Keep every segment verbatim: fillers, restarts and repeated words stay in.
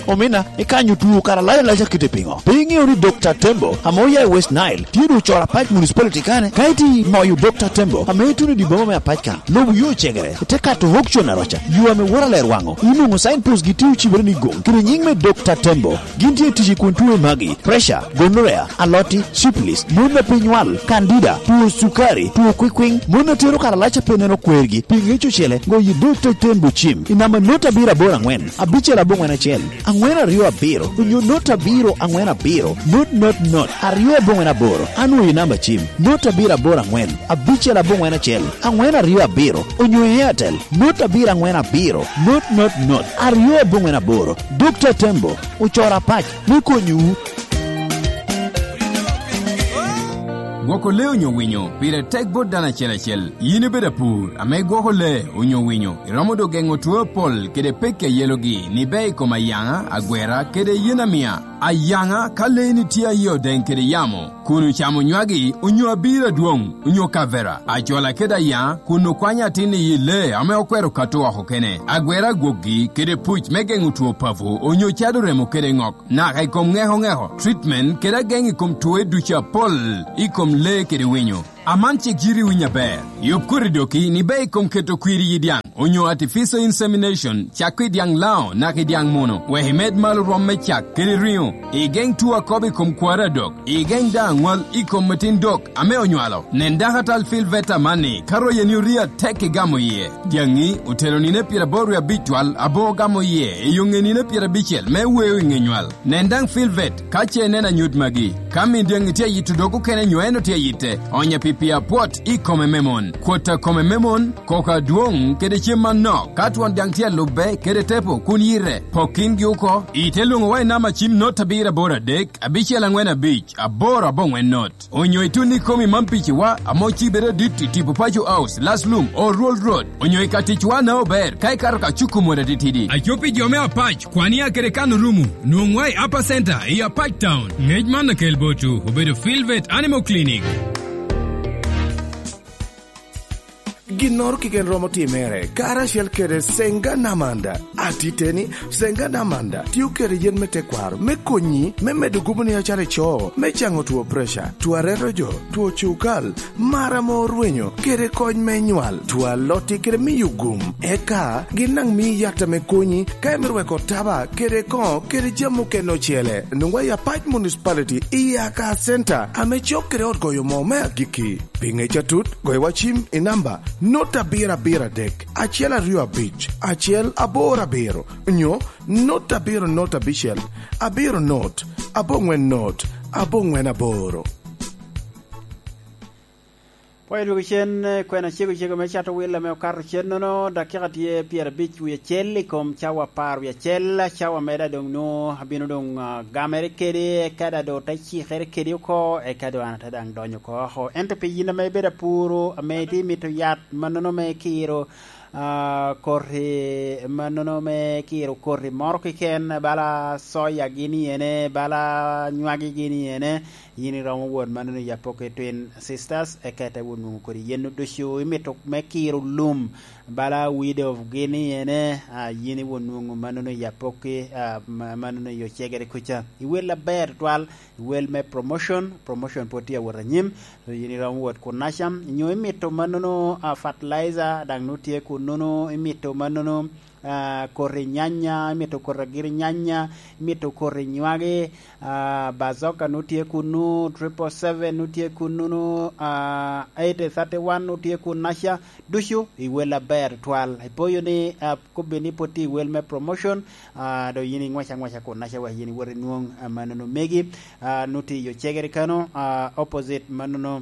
Omina, ikanyo tuo kara lac alac akite piŋo? Pe iŋeo ni Dokta Tembo, ame oya i West Nile, tye doŋ ocoro apac municipality kane? Ka itye i moyo Dokta Tembo, ame ituno i dye boma me apac ka, lubo yo ocegere, ite kato auction aroca, yo ame woto aler waŋo. Inwoŋo signpost gi tye ocibere ni goŋ, kede nyiŋ me Dokta Tembo. Gin tye tic i kun tuo i magi, pressure, gonorrhea, aloti, syphilis, mon a pe nywal, candida, tuo cukari, tuo kwikwiŋ, mon a tero kara lac a pe neno kwergi, pi ŋec ocele, goyo i Dokta Tembo cim, i namba not abiro aboro aŋwen, abicel aboŋwen acel, aŋwen aryo abiro, onyo not abiro aŋwen abiro, not not not, aryo aboŋwen aboro, anwoyo i namba cim, not abiro aboro aŋwen, abicel aboŋwen acel, aŋwen aryo abiro, onyo i Airtel, not abiro aŋwen abiro, not not not, aryo aboŋwen aboro. Dokta Tembo, ocoro apac me konyowu. Gwoko lee onyo winyo pire tek bot dano acel acel. Yin ibedo apur ame gwoko lee onyo winyo, iromo doŋ geŋo two apol kede pekki a yelogi ni ber i kom ayaŋa, agwera, kede yen amia. Ayaŋa, ka leeni tye aye odeŋ kede yamo, kun ocamo nywagi onyo abiro adwoŋ, onyo kavera, acola kede ayaŋa, kun okwanyo atin i yi lee ame okwero kato oko kene, agwera agwokgi kede puc me geŋo two papo, onyo cado remo kede ŋok, naka i kom ŋeko ŋeko, treatment kede ageŋ i kom twoe ducu apol i kom lee kede winyo. Aman cik yiti winyo aber. Yub koti doki ni ber i kom keto kwir i yi dyaŋ, onyo artificial insemination, cak i dyaŋ lao naka i dyaŋ muno, wek imed malo rwom me cak kede riŋo. Igeŋ tuo akobo i kom kwari adok. Igeŋ daŋ aŋwal i kom metin dok ame onywalo. Nen dakatal Phil Veta amanni, ka royeni orii atek igamo iye. Dyaŋi otero nino pyeraboro wie abic twal, abo ogamo iye i yo ŋe nino pyerabicel me weo i ŋe nywal. Nen daŋ Phil Vet ka ce ineno anyut magi. Ka min dyaŋi tye ayito dog okene nyo en otye ayitte, onye pi pii apwot i kome me mon. Kwot a kome me mon, koko adwoŋ kede cem manok. Ka twon dyaŋ tye alubbe kede tepo kun yite, pok kingi oko. Ite lwoŋowa i namba cim not abiro aboro adek, abicel aŋwen abic, aboro aboŋwen not. Onyo itun i komi man piciwa, ame ocibere adit i tipo Paco House, Laslum, Oruol Road, onyo i ka ticwa na ober, ka ikato ka cuko mot atitidi. Aco pi jo me Apac, Kwania kede Kano Rumu, nwoŋwa i Upper Center, i Apac Town. Ŋec man akel botwu, obedo Filvet Animal Clinic. Ginnoro keken romo timere, karacel kede Senga Namanda. Atiteni, Senga Namanda tio kede yen me tekwaro me konyi me medo gubo ni acara ico, me caŋo two preca, two areto jo, two cukal, mar ame orwenyo, kede kony me nywal, two aloti kede miyo gum. Eka gin daŋ mii yat ame konyi ka imito weko taba kede koŋo kede jami okene ocele. Nwoŋwa i Apac Municipality i Aka Center ame cok kede ot goyo moo me agikki. Pi ŋec atut, goyo wa cim i namba not abiro abiro adek, acel aryo abic, acel aboro abiro, nyo not abiro not abicel, abiro not, aboŋwen not, aboŋwen aboro. Pwony dwogo cen, eh, kwena cego cego me cato wil ame okato cen nono, dakika tye pyerabic wie acel i kom cawa apar wie acel, cawa me da doŋ nwo abino doŋ, ah, gamere kede, eka da doŋ te cikere kede oko, eka doŋ an ate daŋ donyo oko oko. Ento pi yin ame ibedo apuro, ame itye mito yat mannono me kiro, ah, koti mannono me kiro koti moro keken, bala soya gin i ene, bala nywagi gin i ene, yin iromo wot mannono i Apoki Twin Sisters, eka ite wot nwoŋo kodi yen ducu imito me kiro lum, bala Widow gin i ene, ah, yin iwot nwoŋo mannono i Apoki, ah, ma-, mannono i Ocegere kuca. Iwel aber tutwal, iwel me promotion, promotion pwod tye awot anyim, so yin iromo wot kunnaca, nyo imito mannono, ah, fertilizer, daŋ nwoŋo tye kunnono, imito mannono, ah, koti nyanya, imito koti agiri nyanya, imito koti nywagi, ah, Bazooka nwoŋo tye kunnu, triple seven nwoŋo tye kunnu, ah, eighty thirty-one nwoŋo tye kunnaca, ducu iwel aber tutwal. Ipoyo ni, ah, kobbe ni pwod tye iwel me promotion, ah, do yin ingwac angwaca kunnaca wek yin iwot inwoŋ, ah, mannono megi, ah, nwoŋo tye i Ocegere kano, ah, opposite mannono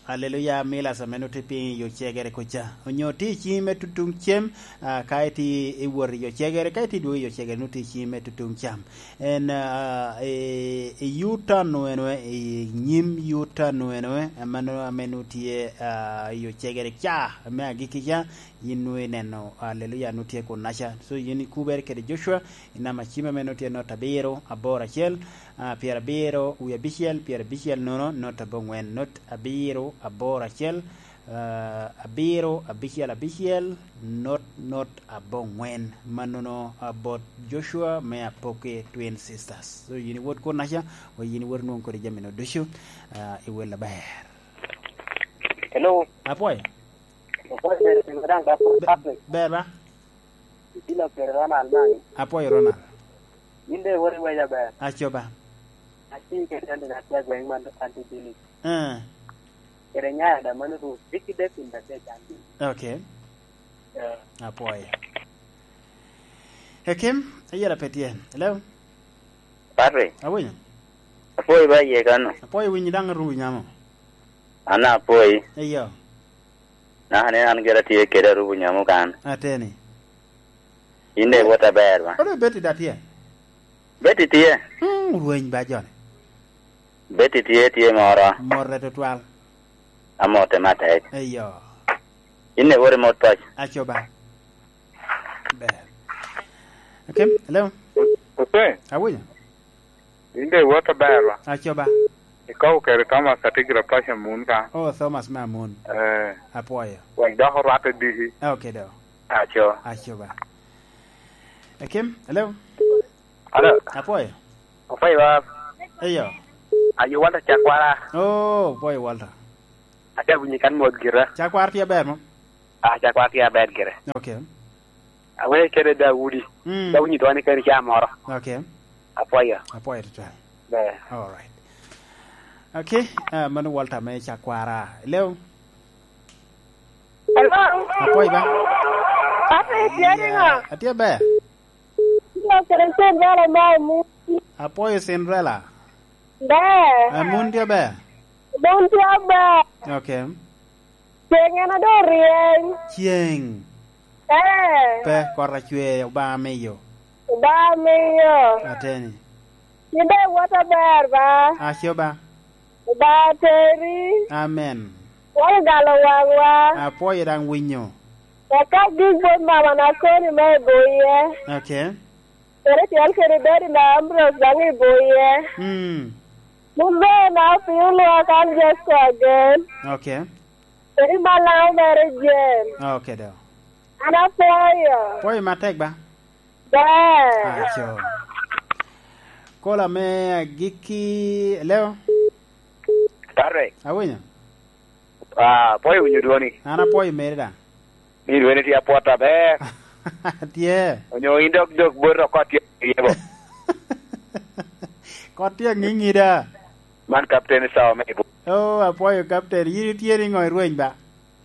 Aleluya, Milas ame nwoŋo tye piny i Ocegere kuca. Onyo tye i ciŋi me tutuŋ cem, ah, ka itye i wot i Ocegere, ka itye i dwogo i Ocegere, nwoŋo tye i ciŋi me tutuŋ cam. En, ah, i, i U-turn eno, i nyim U-turn eno, ame nwoŋo, ame nwoŋo tye, ah, i Ocegere ca, me agikki ca, yin nwoŋo ineno, aleluya, nwoŋo tye kunnaca. So, yin ikubere kede Joshua, i namba cim ame nwoŋo tye not abiro, aboro acel, ah, pyerabiro wie abicel, pyerabicel nono, not aboŋwen, not abiro, aboro acel, ah, abiro abicel abicel, not not aboŋwen. Mannono, ah, bot Joshua me Apoki Twin Sisters. So, yin iwot kunnaca, wa yin iwot inwoŋo kodi jami-nu ducu, ah, i wel aber. Hello. Apwoyo. Apwoyo, ber, ber, ber, ber. Be-, ber ba? Itino kede Ronald Mangi. Apwoyo, Ronald. Yin de iwot iweca ber. Aco ba. Ati kede Andy Natia gweŋ man Andy Billy. Eh. Kede nyaya da mano ru, Ricky Devin da te can. Okay. Eh. Apwoyo. Ekim, ayela pe tye. Hello? Patrick. Awinyo. Apwoyo ba iye kano. Apwoyo winyi daŋ arubu nyamo. An apwoyi. Eyo. Naka ni an gira tye kede arubu nyamo kan. Ateni. In de iwot aber ba? Olo Betty da tye? Betty tye. Hmm, rweny ba joni. Betty tye, tye moro. Morre tutwal. Amote matek. Eyo. In de iwot imot paco. Aco ba. Ber. Akim, hello? Ope. Awinyo. In de iwot aber ba? Aco ba. Ikobo kede Thomas Atigira Paco Amun ka. Oh, Thomas me Amun. Eh. Apwoyo. Wek dok orwatte diki. Okay, do. Aco. Aco ba. Akim, hello? Hello. Apwoyo. Apwoyo ba. Eyo. Ayo Walter Cakwara. Oh, apwoyo Walter. Ate winyi kan mot gira. Cakwara tye aber mo? Ah, Cakwara tye aber gire. Okay. Awe kede Daudi. Mm. Daudi dwani kede ca moro. Okay. Apwoyo. Apwoyo tutwal. Ber. All right. Okay, ah, mano Walter me Cakwara. Hello? Hello? Apwoyo ba? Patrick, tye niŋo? Atye ber. Tye kede Cinderella me Amun. Apwoyo Cinderella. Ber. Amun tye ber? Amun tye ber. Okay. Ceng en a doŋ ryeny. Ceng. Eh. Pe, kot acwe, Obaŋa miyo. Obaŋa miyo. Ateni. Yin daŋ iwot aber ba? Aco ba. Obaŋa teri. Amen. Wek igalo waŋwa. Apwoyo daŋ winyo. Eka gik bot mama na koni me iboye. Okay. Kede tyel kede dadi na Ambrose daŋ iboye. Mm. Mun bene na opio lwak an Jesco agen. Okay. Kede malaŋo mere Jen. Okay, do. An apwoyo. Pwoyo matek ba? Ber. Aco. Kola me agikki, leo? Patrick. Awinyo? Ah, apwoyo winyo dwoni. An apwoyo meri daŋ. Ni dwoni tye apwot aber. Tye. Onyo in dok, dok bot oko tye i yebo. Kot tye aŋiŋi da. Man Captain Sawa me Ibu. Oh, apwoyo Captain. Yin itye niŋo i rweny ba?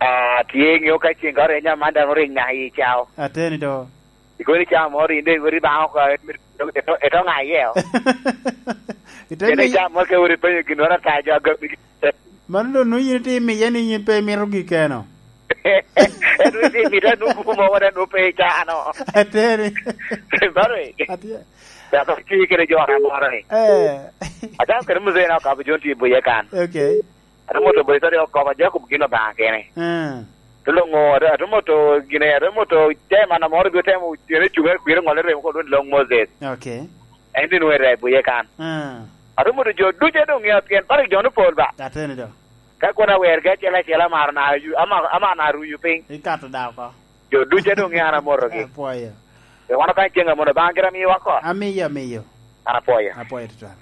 Ah, tye ŋeo ka ceng ka oreny man daŋ oreny naka i cao. Ateni do. Ikoni cao moro in de iwot ibaŋo oko, eto, eto, eto ŋa iye o? Ite Kede mi- cao moro ke wot ipenyo ginnoro ata jo agam. Mano doŋ nwoŋo yin itye imiye ni yin pe imito gikeno. Ento itye imito anwoŋo buku mogo wot anwoŋo pe icano. Ateni. Mano e. Atye. Dok tye kede jo na moro ni. Eh. Acalo kede muzee na okabo jo tye i buye kan. Okay. Ate moto boy tari okoba Jacob gin Obaŋa kene. Ah. Te loŋo, ate, ate moto gine, ate moto chairman moro bi otemo cene cuŋe kwiro ŋolle remo ko lwongo ni Long Moses. Okay. En din wera i buye kan. Ah. Ate moto jo ducu doŋ ŋeo pien Patrick jo ni pol ba. Ateni do. Ka kono awergi acel acel amaro na yu-, ama-, ama na ruyu piny. Ikato da oko. Jo ducu doŋ ŋeo an amotogi. Apwoyo. Pe wan okany ceŋ amono, Obaŋa gira miwa oko. Amiyo, amiyo. An apwoyo. Apwoyo tutwal.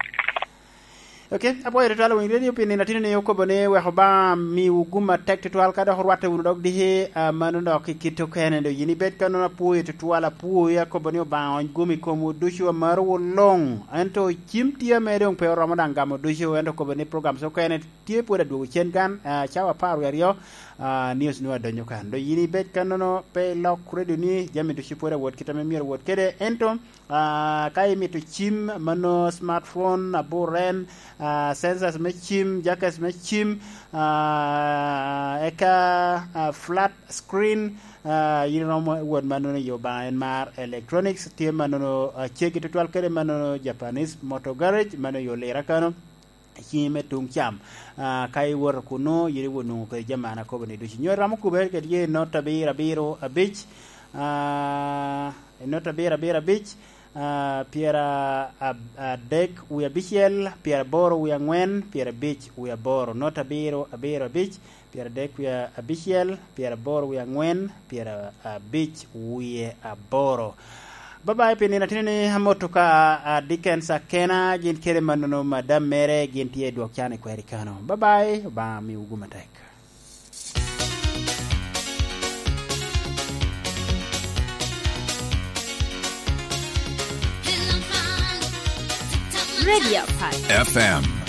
Ok, apwoyo tutwal winy redio pi nino atino ni okobo ni wek Obaŋa miwu gum atek tutwal ka dok orwatte wunu dok diki, ah, mano dok i kit okene do yin ibed ka nono apwoyo tutwal apwoyo akobo ni Obaŋa ony gum i komwu ducu amarowu luŋ. Ento cim tye ame doŋ pe oromo daŋ gamo ducu, ento okobo ni programs okene tye pwod adwogo cen kan, ah, cawa apar wie aryo, ah, news nwoŋo adonyo kan. Do yin ibed ka nono pe ilok redio ni jami ducu pwod awot kit ame myero wot kede, ento Ah, ka imito cim, mano smartphone, aburen, ah, sensors me cim, jackets me cim, ah, eka, ah, flat screen, ah, yin iromo wot manono i Obaŋa en mar electronics, tye manono, ah, ceggi tutwal kede manono Japanese Motor Garage, mano i Olira kano. Ciŋi me tuŋ cam. Ah, ka iwoto kunnu, yin iwot nwoŋo kede jami an akobo ni ducu. Nyo iromo kubere kede ye not abiro abiro abic, ah, not abiro abiro abic, Ah, pyera ab-, adek wie abicel, pyeraboro wie angwen, pyerabic wie aboro, not abiro, abiro abic, pyeradek wie abicel, pyeraboro wie angwen, pyerabic wie aboro. Babayi pi nino atino ni amoto ka, ah, Dickens Akena, gin kede mannono madam mere, gin tye i dwok can i kweri kano. Babayi, Obaŋa miwu gum atek. Radio Park. F M.